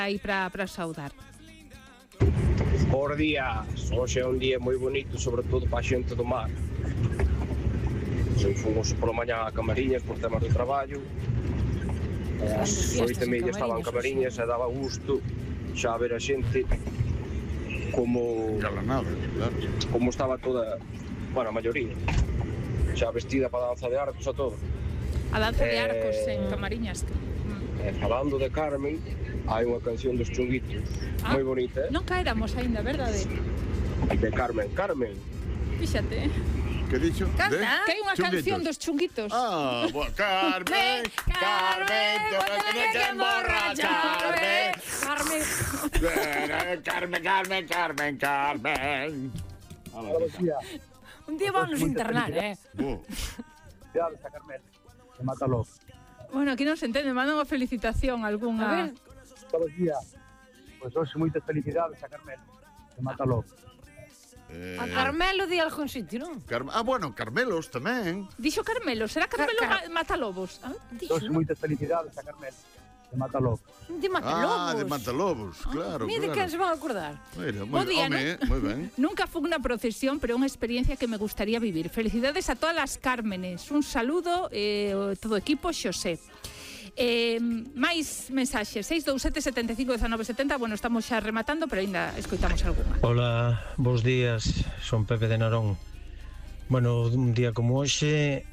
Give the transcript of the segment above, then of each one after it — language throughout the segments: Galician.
aí para saudar. Por días, hoxe é un día moi bonito, sobre todo para a xente do mar. Fomos pola mañá a Camariñas por temas do traballo. As 8:30 estaban Camariñas e daba gusto xa ver a xente como estaba toda, bueno, a maioría, xa vestida para a danza de arcos a todo. A danza de arcos en Camariñas. Falando de Carmen, hai unha canción dos Chunguitos moi bonita. Non caéramos aínda, verdade? De Carmen. Fíxate. Que dixo? Canta, que hai unha canción dos Chunguitos. Carmen, tú me tienes que emborracharme. Carmen. Un día vamos a internar, Felicidades a Carmen, que mata logo. Bueno, aquí non se entende, manda unha felicitación algunha. A ver. Todos os días. Pois hoxe moitas felicidades a Carmen, que mata logo. A Carmelo di algún sitio, non? Bueno, Carmelos tamén. Dixo Carmelo, será Carmelo Matalobos? Hoxe moitas felicidades a Carmen, que mata logo. De Matalobos. De Matalobos, claro. Mira que se van a acordar. Mira, Bo día, moi ben. Nunca fue una procesión, pero unha experiencia que me gustaría vivir. Felicidades a todas as Cármenes. Un saludo, todo equipo, Xosé. Máis mensaxes 627 75 19 70. Bueno, estamos xa rematando, pero ainda escoitamos algunha. Hola, bons días, son Pepe de Narón. Bueno, un día como hoxe,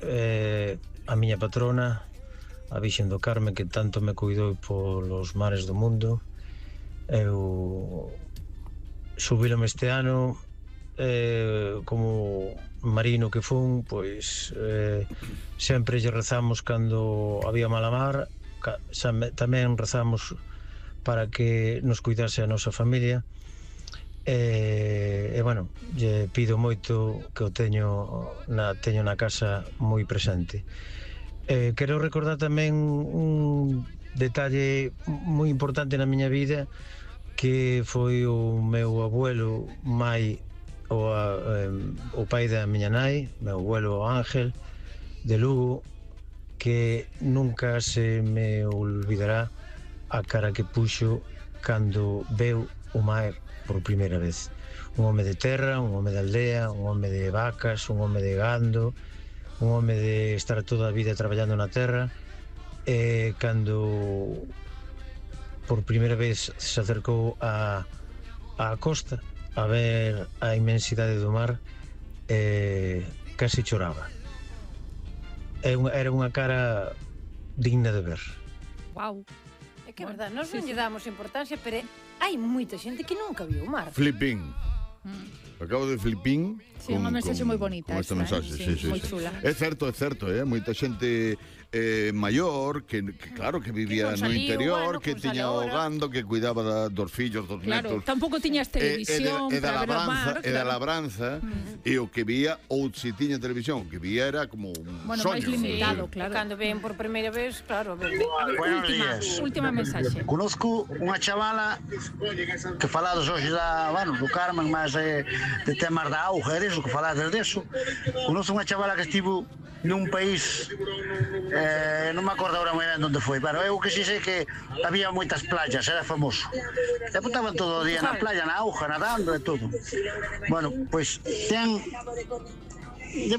a miña patrona, a Virxen do Carme, que tanto me cuidou polos mares do mundo, eu subílome este ano, como marino que fun, pois sempre lle rezamos cando había mala mar, tamén rezamos para que nos cuidase a nosa familia, e bueno, lle pido moito que o teño na casa moi presente. Quero recordar tamén un detalle moi importante na miña vida, que foi o meu abuelo Mai, o pai da miña nai, meu abuelo Ángel de Lugo, que nunca se me olvidará a cara que puxo cando veu o mar por primeira vez. Un home de terra, un home de aldea, un home de vacas, un home de gando, un home de estar toda a vida traballando na terra, e cando por primeira vez se acercou á costa a ver a inmensidade do mar, casi choraba. Era unha cara digna de ver. Wow. É que é verdade, nós non lle damos importancia, pero hai moita xente que nunca viu o mar. Flipín. Acabo de flipín. Sí, unha mensaxe moi bonita. Con esta mensaxe, sí. Moi chula. É certo, moita xente maior que claro, que vivía no interior, que tiña o gando, que cuidaba dos fillos, dos netos. Claro, tampouco tiñas televisión para ver o mar. E da labranza, e o que vía, ou se tiña televisión, que vía era como un soño. Máis limitado, claro. Cando ven por primeira vez, claro. Buenos días. Última mensaxe. Conozco unha chavala que falados hoxe do Carmen, mas de temas da auga, é disso que falades deso. Conozco unha chavala que estivo nun país, non me acordo agora moi ben onde foi, pero eu que si sei que había moitas playas, era famoso. E apuntaban todo o día na playa, na auga, nadando e todo. Bueno, pois debe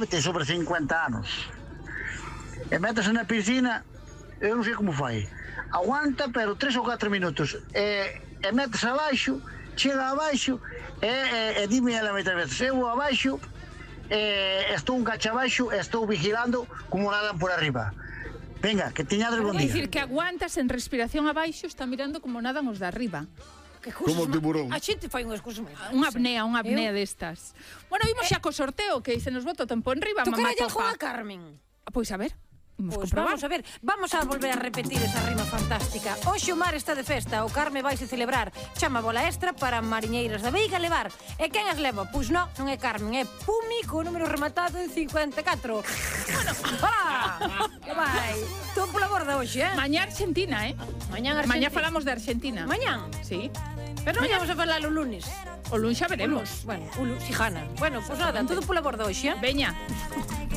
ter sobre 50 anos. E métese na piscina, eu non sei como fai. Aguanta, pero 3 ou 4 minutos. E métese abaixo, chega abaixo, e dime ela moitas veces, eu abaixo, estou un cacho abaixo, estou vigilando como nadan por arriba. Venga, que teñades bon día. É dicir, que aguantas en respiración abaixo, está mirando como nadan os de arriba. Como o tiburón. A xente fai unhas cousas moi raras. Unha apnea destas. Bueno, vimos xa co sorteo, que se nos bota o tempo enriba. Tocará algo a Carmen. Pois a ver. Pois vamos a ver, vamos a volver a repetir esa rima fantástica. Hoxe o mar está de festa, o Carme vaise celebrar. Chama bola extra para mariñeiras da Veiga levar. E quen as leva? Pois non é Carmen, é Pumi, co número rematado en 54. Bueno, que vai? Tú pola borda hoxe, Mañá Argentina, Mañá falamos de Argentina. Mañán? Sí. Pero non vamos a falar o lunes. O lunes xa veremos. Bueno, o lunes, si gana. Bueno, pois nada, todo pola borda hoxe, Veña.